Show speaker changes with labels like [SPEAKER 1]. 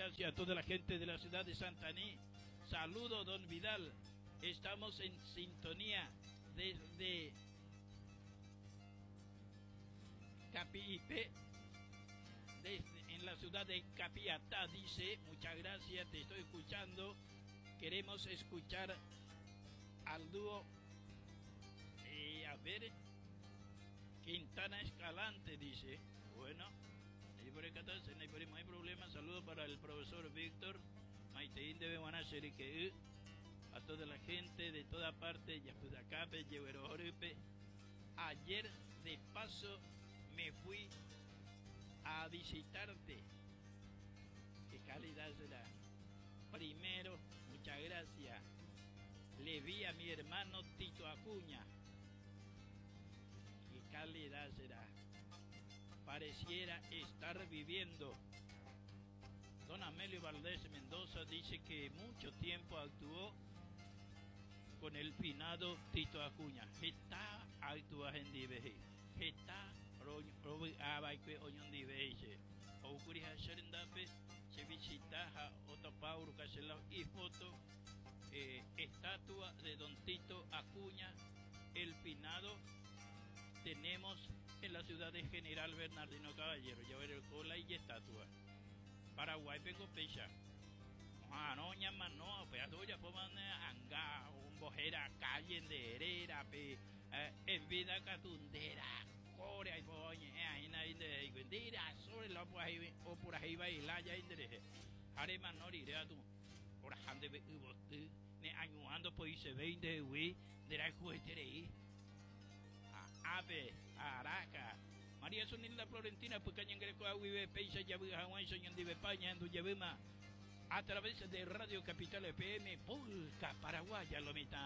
[SPEAKER 1] gracias a toda la gente de la ciudad de Santaní. Saludo, don Vidal. Estamos en sintonía desde Capipe, desde, en la ciudad de Capiatá, dice, muchas gracias, te estoy escuchando. Queremos escuchar al dúo, eh, a ver, Quintana Escalante, dice. Bueno, ahí por el 14, no hay problema. Saludo para el profesor Víctor. Maiteín debe que a toda la gente de toda parte, Yapudacape, Yehuerojorupe. Ayer de paso me fui a visitarte. Qué calidad será. Primero, muchas gracias. Le vi a mi hermano Tito Acuña. Qué calidad será. Pareciera estar viviendo. Don Amelio Valdés Mendoza dice que mucho tiempo actuó con el finado Tito Acuña. Heta actúa hendive. Heta rovy'ava'ekue oñondive che. Oúkuri ha che rendápe che visita ha otopa Urucachelao ifoto eh, estatua de Don Tito Acuña, el finado tenemos en la ciudad de General Bernardino Caballero. Ya ver el cola y estatua. Paraguáipe ko péicha. Oha'arõ ñamano upéva ojapómane anga ombohéra calle nde rérape, en vida katu nde rakóre aipóva oñe'ẽ aína avei nde rehe nde rasóre la opurahéi vai lája nde rehe. Ha remano rire katu oraha ndéve yvoty ne añuã ndopoisevéi ndehegui nde rayhueterei. Ápe, Araka. María Zunilda Florentina pyka ñangarekoha guive péicha javy'a hag̃uáicha oñondivepa ñahendu jevýma a través de Radio Capital FM Polka Paraguaya lo mitã.